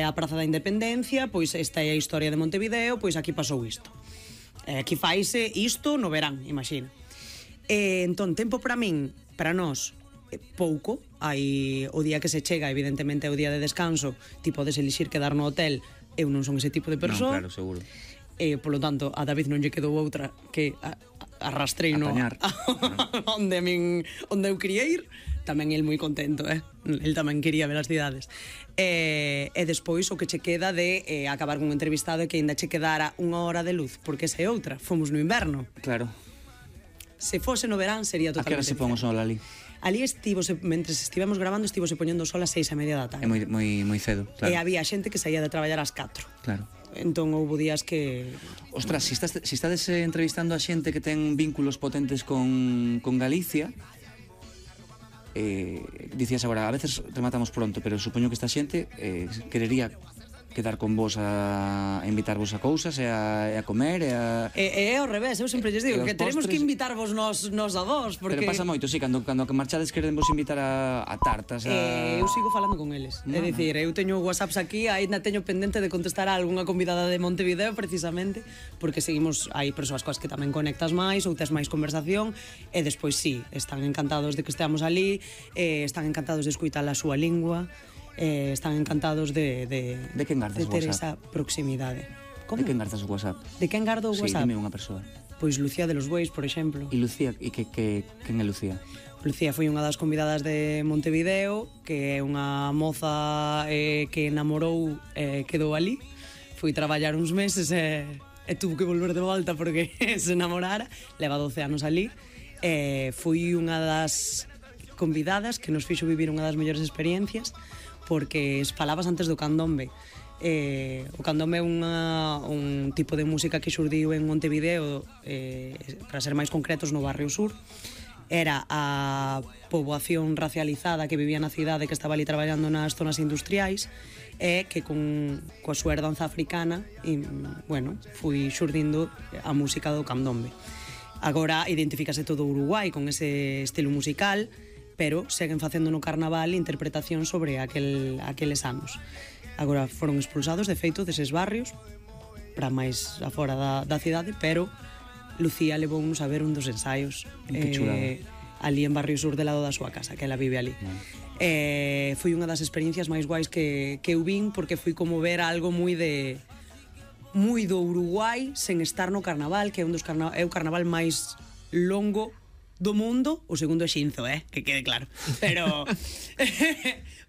a Praza da Independencia, pois esta é a historia de Montevideo, pois aquí pasou isto. Aquí faise isto no verán, imagina. Entón, tempo para min, para nós, pouco. Hai o día que se chega, evidentemente é o día de descanso, ti podes elixir quedar no hotel. Eu non son ese tipo de persoa. Non, claro, seguro. Polo tanto, a David non lle quedou outra que arrastreino onde eu quería ir. Tamén el moi contento, el tamén quería ver as cidades. E despois o que che queda de acabar con un entrevistado e que ainda che quedara unha hora de luz, porque esa é outra, fomos no inverno. Claro. Se fose no verán sería totalmente. A que hora se pon o sol ali? Ali mentres estivemos grabando, estivose poñendo o sol a 6:30 da tarde. É moi cedo, claro. E había xente que saía de traballar ás 4. Claro. Entón houve días que... Ostras, si estades entrevistando a xente que ten vínculos potentes con Galicia, dicías agora, a veces rematamos pronto, pero supoño que esta xente querería quedar con vos a invitarvos a cousas e a comer e a... É ao revés, eu sempre lles digo que teremos que invitarvos nos a vos, porque... Pero pasa moito, sí, cando marchades queren vos invitar a tartas, a... Eu sigo falando con eles, é dicir, eu teño whatsapps aquí, ainda teño pendente de contestar a algunha convidada de Montevideo precisamente, porque seguimos, hai persoas coas que tamén conectas máis ou tes máis conversación, e despois sí, están encantados de que esteamos ali, están encantados de escuitar a súa lingua, están encantados de quen gardas o ter WhatsApp? esa proximidade. Como? De quen gardas o WhatsApp? De quen gardo o WhatsApp? Sí, dime unha persoa. Pois Lucía de los Bois, por exemplo. E Lucía, e quen é Lucía? Lucía foi unha das convidadas de Montevideo, que é unha moza que namorou quedou ali. Fui traballar uns meses e tuvo que volver de volta porque se namorara. Leva 12 anos ali. Fui unha das convidadas que nos fixo vivir unha das mellores experiencias, porque falabas antes do candombe. O candombe é un tipo de música que xurdiu en Montevideo, para ser máis concretos, no barrio sur. Era a poboación racializada que vivía na cidade, que estaba ali traballando nas zonas industriais, e que coa súa herdanza africana, fui xurdindo a música do candombe. Agora identifícase todo Uruguai con ese estilo musical, pero seguen facendo no carnaval interpretación sobre aqueles anos. Agora foron expulsados, de feito, deses barrios para máis afora da cidade, pero Lucía levounos a ver un dos ensaios ali en Barrio Sur, de lado da súa casa, que ela vive ali. Foi unha das experiencias máis guais que eu vin, porque foi como ver algo moi do Uruguai sen estar no carnaval, que é o carnaval máis longo do mundo. O segundo é Xinzo, que quede claro. Pero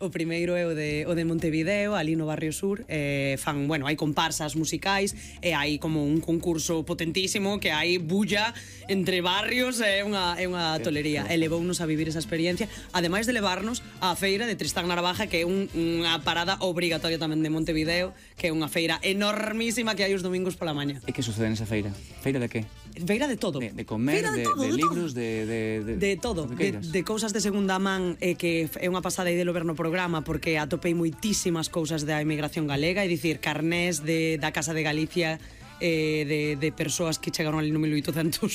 o primeiro é o de Montevideo, ali no Barrio Sur. Hai comparsas musicais e hai como un concurso potentísimo, que hai bulla entre barrios, é unha tolería. E levounos a vivir esa experiencia, ademais de levarnos á feira de Tristán Narvaja, que é unha parada obrigatoria tamén de Montevideo, que é unha feira enormísima que hai os domingos pola maña. E que sucede nesa feira? Feira de que? Feira de todo. De comer, de libros, de todo, de cousas de segunda man, que é unha pasada aí de ver no programa, porque atopei moitísimas cousas da emigración galega, é dicir, carnés da Casa de Galicia, de persoas que chegaron ali no 1890,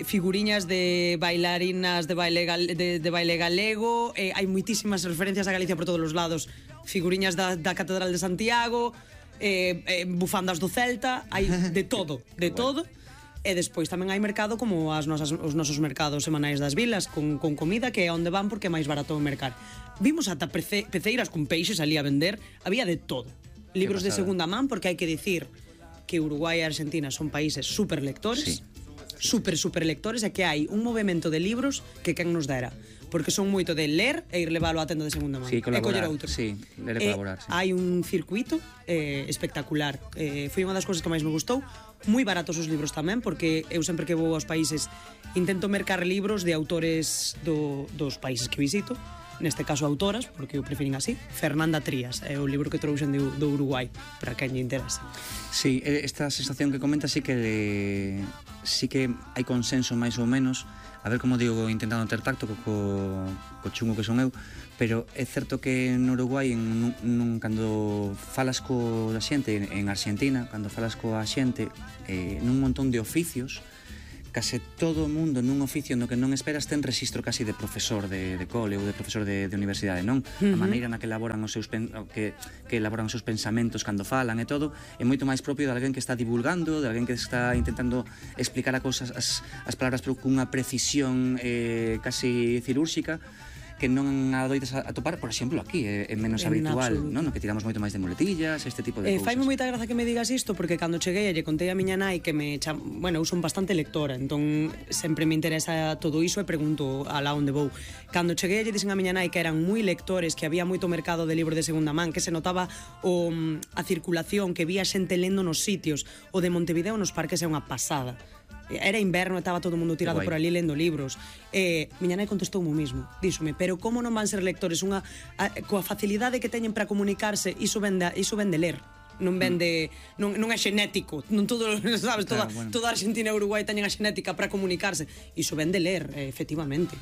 figuriñas de bailarinas de baile galego, hai moitísimas referencias a Galicia por todos os lados, figuriñas da Catedral de Santiago, bufandas do Celta, hai de todo. E despois tamén hai mercado como os nosos mercados semanais das vilas, con comida, que é onde van porque é máis barato mercar. Vimos ata peceiras con peixes ali a vender, había de todo. Libros de segunda man, porque hai que dicir que Uruguai e Argentina son países super lectores, super lectores, e que hai un movimento de libros que quen nos dera, porque son moito de ler e ir leválo á tenda de segunda man, e coller outro. Sí, ler e colaborar, sí. Hai un circuito espectacular. Foi unha das cousas que máis me gustou. Moi baratos os libros tamén, porque eu sempre que vou aos países intento mercar libros de autores dos países que visito, neste caso autoras, porque eu prefirín así. Fernanda Trías é o libro que trouxen do Uruguai, para quen lle interesa. Sí, esta sensación que comentas sí que hai consenso máis ou menos. A ver, como digo, intentando ter tacto co chungo que son eu, pero é certo que no Uruguai cando falas coa xente en Argentina, cando falas coa xente nun montón de oficios, case todo o mundo nun oficio no que non esperas ten rexistro casi de profesor de cole ou de profesor de universidade, non? A maneira na que elaboran os seus que elaboran os seus pensamentos cando falan e todo é moito máis propio de alguén que está divulgando, de alguén que está intentando explicar a cousas as palabras pero cunha precisión casi cirúrxica que non adoitas a topar, por exemplo, aquí é menos habitual, non? No que tiramos moito máis de muletillas, este tipo de cousas. Faime moita graza que me digas isto porque cando cheguei lle contei a miña nai que bueno, eu son bastante lectora, entón sempre me interesa todo iso e pregunto alá onde vou. Cando cheguei lle dixen a miña nai que eran moi lectores, que había moito mercado de libros de segunda man, que se notaba a circulación, que vía xente lendo nos sitios. O de Montevideo nos parques é unha pasada. Era inverno e estaba todo o mundo tirado por ali lendo libros. Miña nai contestou o mismo. Díxome, pero como non van ser lectores? Coa facilidade que teñen para comunicarse, iso ven de ler. Non vende, non é xenético, non todo, sabes, toda Argentina e Uruguai teñen a xenética para comunicarse. Iso ven de ler, efectivamente.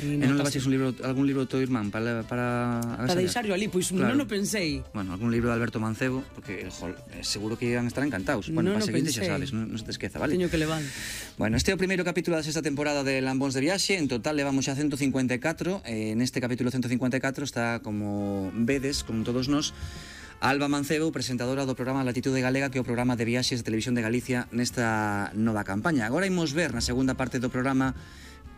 E non levaches algún libro do teu irmán para deixarlo ali? Pois non o pensei. Bueno, algún libro de Alberto Mancebo, porque seguro que iban a estar encantados. Bueno, para seguinte xa sabes, non se te esqueza, vale? Teño que levar. Bueno, este é o primeiro capítulo da sexta temporada de Lambóns de Viaxe. En total levamos xa 154. Neste capítulo 154 está, como vedes, con todos nós, Alba Mancebo, presentadora do programa Latitude Galega, que é o programa de viaxes de Televisión de Galicia nesta nova campaña. Agora imos ver na segunda parte do programa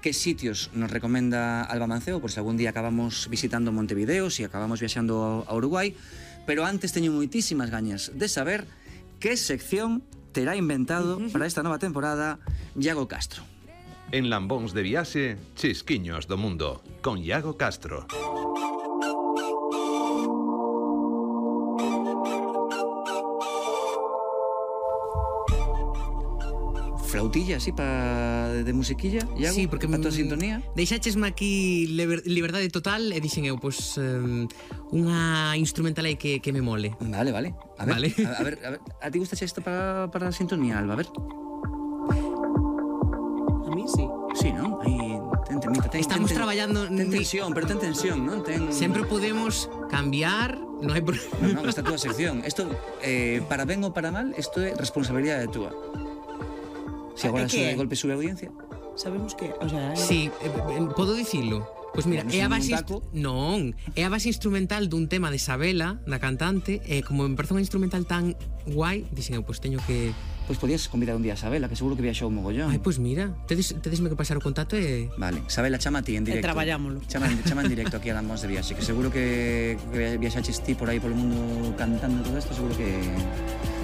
que sitios nos recomenda Alba Mancebo, por se algún día acabamos visitando Montevideo, se acabamos viaxando a Uruguai, pero antes teño moitísimas gañas de saber que sección terá inventado para esta nova temporada Iago Castro. En Lambóns de Viaxe, Chisquiños do Mundo, con Iago Castro. Flautilla, así, de musiquilla, Iago, sí, porque a tua sintonía. Deixáchesme aquí liberdade total e dixen eu, pois, unha instrumental aí que me mole. Vale. A ver, a ti gustaxe isto para a sintonía, Alba? A ver. A mí sí. Sí, non? Aí, estamos traballando... Ten tensión, pero ten tensión, non? Sempre podemos cambiar, non hai problema. Non, esta túa sección. Isto, para ben ou para mal, isto é responsabilidade túa. Se agora de golpe sube a audiencia. Sabemos que, o sea, sí, podo dicilo. Pois mira, é a base é a base instrumental dun tema de Sabela, da cantante, e como me parece un instrumental tan guai, dixen eu, pois teño que... Pois podías convidar un día a Sabela, que seguro que viaxou un mogollón. Ai, pois mira, tedesme que pasar o contacto e... Vale, Sabela, chama a ti en directo. E traballámolo. Chama en directo aquí a Lambóns de Viaxe, que seguro que viaxaches ti por aí polo mundo cantando todo isto, seguro que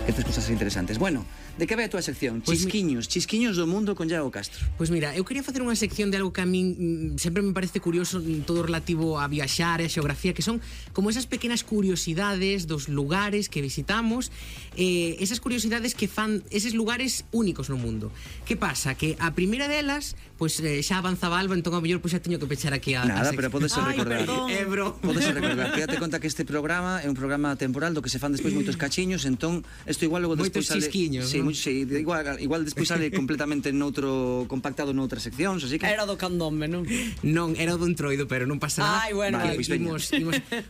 tes cousas interesantes. Bueno, de que vai a túa sección? Chisquiños do mundo con Iago Castro. Pois mira, eu quería facer unha sección de algo que a min sempre me parece curioso, todo relativo a viaxar e a xeografía, que son como esas pequenas curiosidades dos lugares que visitamos, esas curiosidades que fan eses lugares únicos no mundo. Que pasa? Que a primeira delas, pois xa avanzaba Alba, entón a mellor pois xa teño que pechar aquí a nada, pero podes recordar. Podes recordar. Fíjate conta que este programa é un programa temporal do que se fan despois moitos cachiños, entón isto igual logo despois sale... Moitos chisquiños, sí, igual despois sale completamente compactado noutras seccións, así que... Era do candombe, non? Non, era do entroido, pero non pasa nada. Ai, bueno. Vale,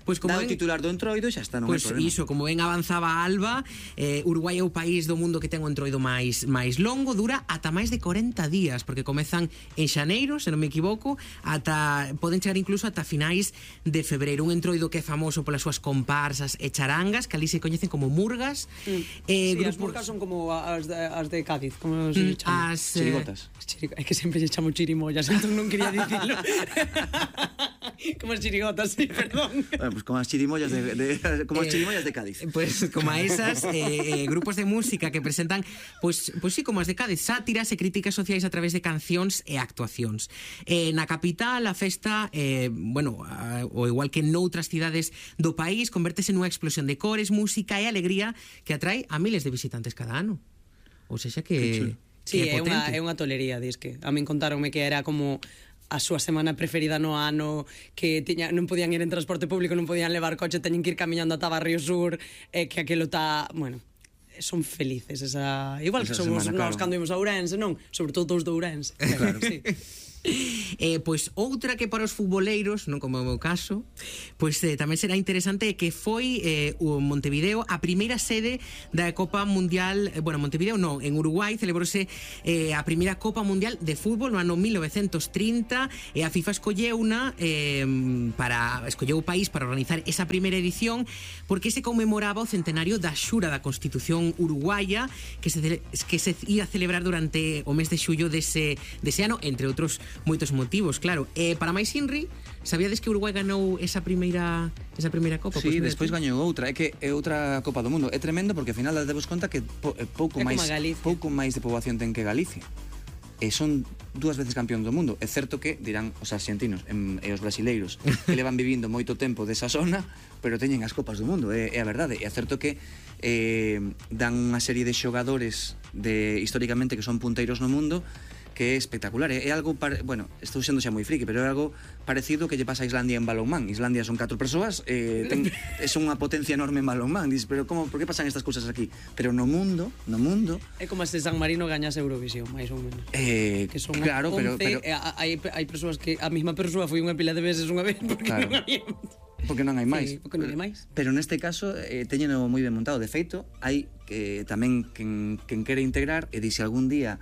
pois como o titular do entroido xa está, non hai problema. Pois iso, como ben avanzaba Alba, Uruguai é o país do mundo que ten o entroido máis longo, dura ata máis de 40 días, porque comezan en xaneiro, se non me equivoco, poden chegar incluso ata finais de febreiro. Un entroido que é famoso polas súas comparsas e charangas, que ali se coñecen como murgas. Sí, as murgas son como as de Cádiz, como se chama. As chirigotas. É que sempre se chamo chirimollas, entón non quería dicilo. Como as chirigotas, sí, perdón. Bueno, pues como as chirimollas de Cádiz. Pues como a esas grupos de música que presentan pues sí, como as de Cádiz, sátiras e críticas sociais a través de cancións e actuacións. Na capital a festa, o igual que noutras cidades do país, convértese nunha explosión de cores, música e alegría que atrae a miles de visitantes cada ano. Ou sexa que... Sí, é unha tolería, disque. A min contaronme que era como a súa semana preferida no ano, que non podían ir en transporte público, non podían levar coche, teñen que ir camiñando ata Barrio Sur, que aquilo está, bueno, son felices igual que somos nós cando imos a Ourense, non? Sobre todo os de Ourense. Claro. Sí. Pois outra que para os futboleiros, non como é o meu caso, pois tamén será interesante que foi o Montevideo a primeira sede da Copa Mundial, bueno, Montevideo non, en Uruguai celebrouse a primeira Copa Mundial de fútbol no ano 1930 e a FIFA escolleu o país para organizar esa primeira edición porque se conmemoraba o centenario da xura da Constitución uruguaya que se ia celebrar durante o mes de xullo dese ano, entre outros moitos motivos, claro. Para máis Inri, sabíades que Uruguai ganou esa primeira Copa? Sí, despois gañou outra, é que é outra Copa do Mundo. É tremendo porque ao final dades conta que pouco máis de poboación ten que Galicia. E son 2 veces campeón do mundo. É certo que, dirán os arxentinos e os brasileiros, que levan vivindo moito tempo desa zona, pero teñen as Copas do Mundo, é a verdade. É certo que dan unha serie de xogadores históricamente que son punteiros no mundo, que é espectacular, é algo bueno, estou sendo xa moi friki, pero é algo parecido que lle pasa a Islandia en balonmán. Islandia son 4 persoas, é unha potencia enorme en balonmán. Dices, pero por que pasan estas cousas aquí? Pero no mundo é como se San Marino gañase Eurovisión, máis ou menos. Que son claro, 11, pero hai persoas que a mesma persoa foi unha pila de veces unha vez porque claro, non había. Porque non hai máis. Sí, porque non hai máis. Pero neste caso teñeno moi ben montado. De feito, hai tamén quen quere integrar e dice algún día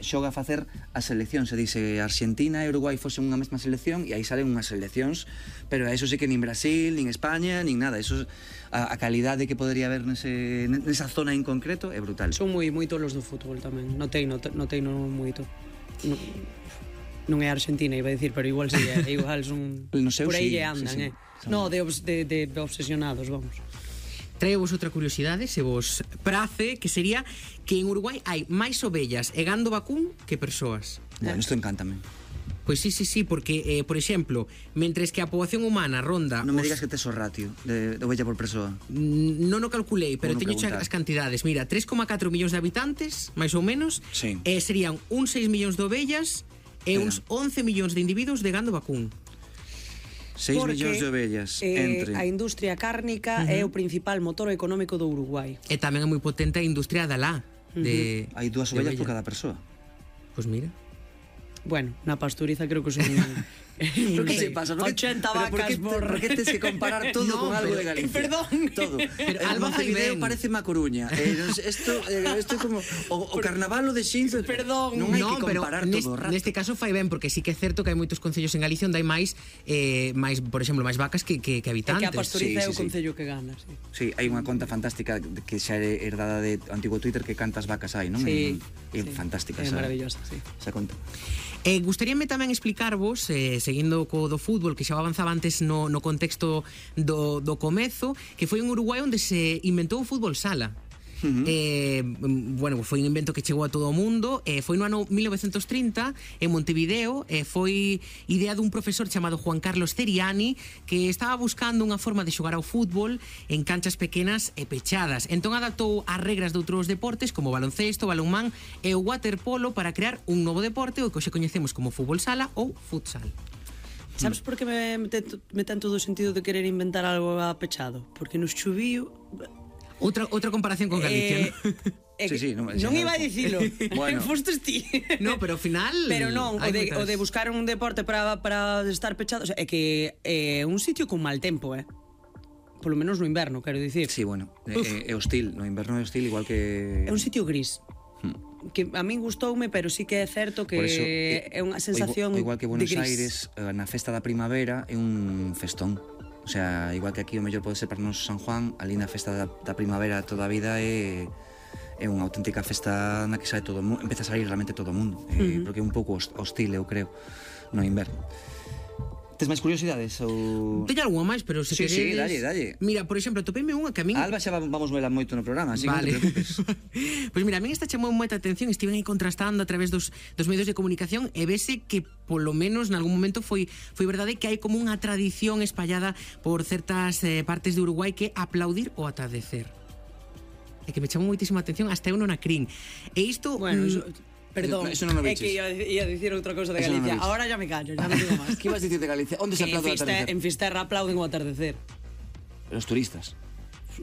xoga a facer a selección, se dice Argentina e Uruguai fosen unha mesma selección e aí salen unhas seleccións, pero a eso sí que nin Brasil, nin España, nin nada. Eso a calidade que podría haber nesa zona en concreto é brutal. Son moi tolos do fútbol tamén. Notei moito. Non é Argentina, iba a dicir, pero igual si é, igual son no seu, por aí sí, lle andan, sí. No, de obsesionados, vamos. Traio vos outra curiosidade, se vos prace, que sería que en Uruguai hai máis ovellas e gando vacún que persoas. Bueno, isto encántame. Pois sí, porque, por exemplo, mentres que a poboación humana ronda... Non me digas que tes o ratio de ovella por persoa. Non o calculei, pero teño xa preguntar. as cantidades. Mira, 3,4 millóns de habitantes, máis ou menos, Sí. Serían uns 6 millóns de ovellas e uns 11 millóns de individuos de gando vacún. 6 millóns de ovellas entre... a industria cárnica é o principal motor económico do Uruguai. E tamén é moi potente a industria da lá. Hai 2 ovellas por cada persoa. Pois mira. Bueno, na pasturiza creo que son... Pero que se pasa? 80 vacas por que tes que comparar todo con algo de Galicia? Perdón. Todo. Pero Alba Montevideo parece má Coruña. Isto é como o carnaval de Xinzo. Perdón. Non hai que comparar todo o rato. Neste caso fai ben, porque sí que é certo que hai moitos concellos en Galicia onde hai máis, por exemplo, máis vacas que habitantes. É que a pasturiza é o Sí. concello que gana, sí. Sí, hai unha conta fantástica que xa é herdada de antigo Twitter, que cantas vacas hai, non? Sí. É fantástica É esa. maravillosa, sí. Esa conta. Gustaríame tamén explicarvos, seguindo co do fútbol, que xa avanzaba antes no contexto do comezo, que foi en Uruguai onde se inventou o fútbol sala. Bueno, foi un invento que chegou a todo o mundo, foi no ano 1930 en Montevideo, foi idea dun profesor chamado Juan Carlos Ceriani, que estaba buscando unha forma de xogar ao fútbol en canchas pequenas e pechadas. Entón adaptou as regras de outros deportes como baloncesto, balonmán e o waterpolo para crear un novo deporte, o que hoxe coñecemos como fútbol sala ou futsal. Sabes por que me ten todo o sentido de querer inventar algo apechado? Porque nos chuvío... Outra comparación con Galicia, ¿no? Sí, non iba a dicilo. Bueno. Fostes ti. No, pero ao final... Pero non, o de buscar un deporte para estar pechado, o sea, é que é un sitio con mal tempo, polo menos no inverno, quero dicir. Sí, bueno, é hostil, no inverno é hostil igual que... É un sitio gris. Que a min gustoume, pero sí que é certo que é unha sensación igual que Buenos de gris. Aires, na festa da primavera é un festón. O sea, igual que aquí o mellor pode ser para nos San Juan, ali na festa da primavera toda a vida é unha auténtica festa na que sae todo o mundo, empeza a sair realmente todo o mundo, porque é un pouco hostil, eu creo, no inverno. Tes máis curiosidades ou... Teño algunha máis, pero se Sí, queredes... dalle. Mira, por exemplo, topeime unha que a min... Alba xa vamos vela moito no programa, así Vale. que non te preocupes. Pois mira, a min esta chamou moita atención, estiven aí contrastando a través dos medios de comunicación e vese que polo menos nalgún momento foi verdade que hai como unha tradición espallada por certas partes de Uruguai que aplaudir o atardecer. É que me chamou moitísima atención, hasta eu non a crin. E isto... Bueno, perdón, Eso non o é viches. que ia dicir outra cousa de Eso non o Galicia. viches. Ahora ya me callo, ya non digo máis. Que ibas dicir de Galicia? Onde se aplaude o atardecer? En Fisterra aplauden o atardecer. Los turistas.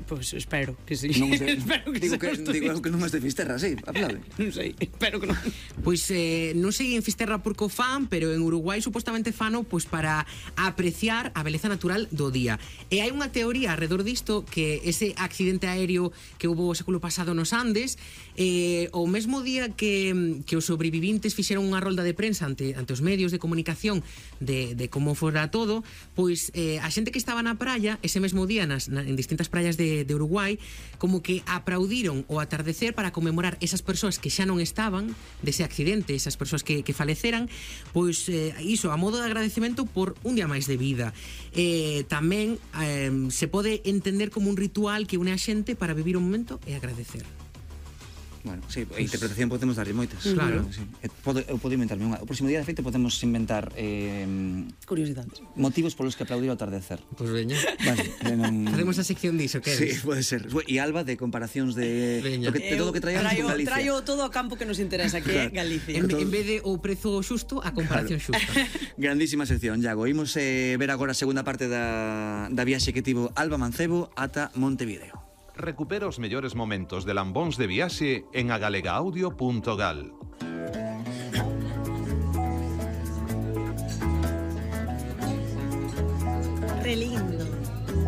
Pois espero que sí. Non sei. Espero que Digo seas que, digo que non es de Fisterra, sí, aplaude. Non sei, espero que non. Pois non sei en Fisterra porque o fan, pero en Uruguai supostamente fano pois para apreciar a beleza natural do día. E hai unha teoría alrededor disto que ese accidente aéreo que houve o século pasado nos Andes, o mesmo día que os sobrevivintes fixeron unha rolda de prensa ante os medios de comunicación de como fora todo, pois a xente que estaba na praia ese mesmo día en distintas praias de Uruguai como que aplaudiron o atardecer para conmemorar esas persoas que xa non estaban dese accidente, esas persoas que faleceran, pois iso a modo de agradecemento por un día máis de vida. Tamén se pode entender como un ritual que une a xente para vivir un momento e agradecer. Bueno, sí, a interpretación podemos darlle moitas. Claro. Sí. Eu podo inventarme unha. O próximo día, de feito, podemos inventar Curiosidades. motivos polos que aplaudir ao atardecer. Pois veña. Vale, non... Facemos a sección diso, que Sí, eres? pode ser. E Alba de comparacións de, Veña. de todo o que traíamos con Galicia. Traio todo o campo que nos interesa, que é Galicia. En vez de o prezo xusto, a comparación xusta. Grandísima sección, Iago. Imos ver agora a segunda parte da viaxe que tivo Alba Mancebo ata Montevideo. Recupera os mellores momentos de Lambóns de Viaxe en agalegaudio.gal.